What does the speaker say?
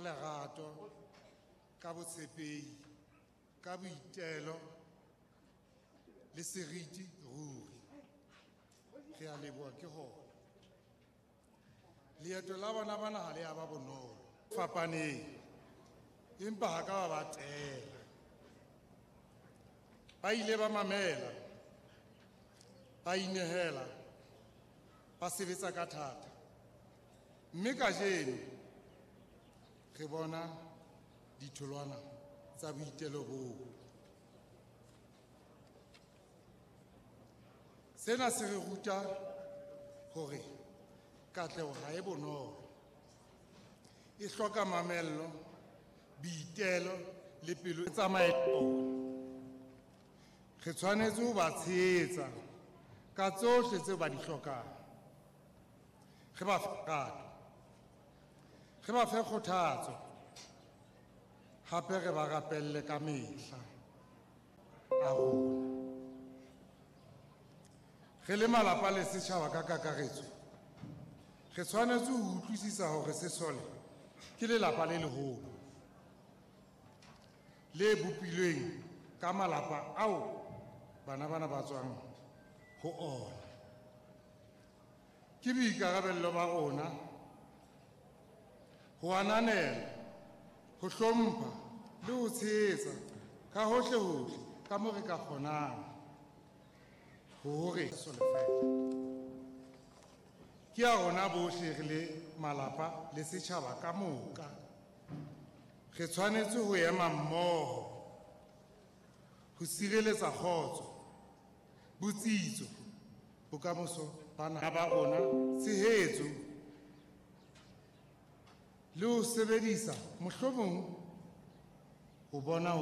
lerato, ka botshepehi, ka boitelo le seriti ruri. Re a leboha ke hona. Leeto la bona bana ha le a ba bonolo. Fapaneng, empa ha ka ba tela. Ba ile ba mamela, ba inehela, ba sebetsa ka thata. Mme kajeno re bona ditholwana tsa boitelo boo. Sena se re ruta hore katleho ha e bonolo. E hloka mamello, boitelo le pelo e tsamaeto. Re tshwanetse ho ba tshehetsa ka tsohle tseo ba di hlokang. Re ba fe lerato, re ba fe kgothatso, hape re ba rapelle ka mehla a rona. Re le malapa le setjhaba ka kakaretso, re tshwanetse ho utlwisisa hore sesole ke lelapa le leholo le bopilweng ka malapa ao bana bana ba tswang ho ona. Ke boikarabello ba rona ho ananela, ho hlompha le ho tshehetsa ka hohle-hohle ka moo re ka kgonang hore ke ya rona bohle re le malapa le setjhaba ka moka. Re tshwanetse ho ema mmoho ho sireletsa kgotso, botsitso, bokamoso ba naha ba rona, tshehetso le ho sebedisa mohlomong ho bona ho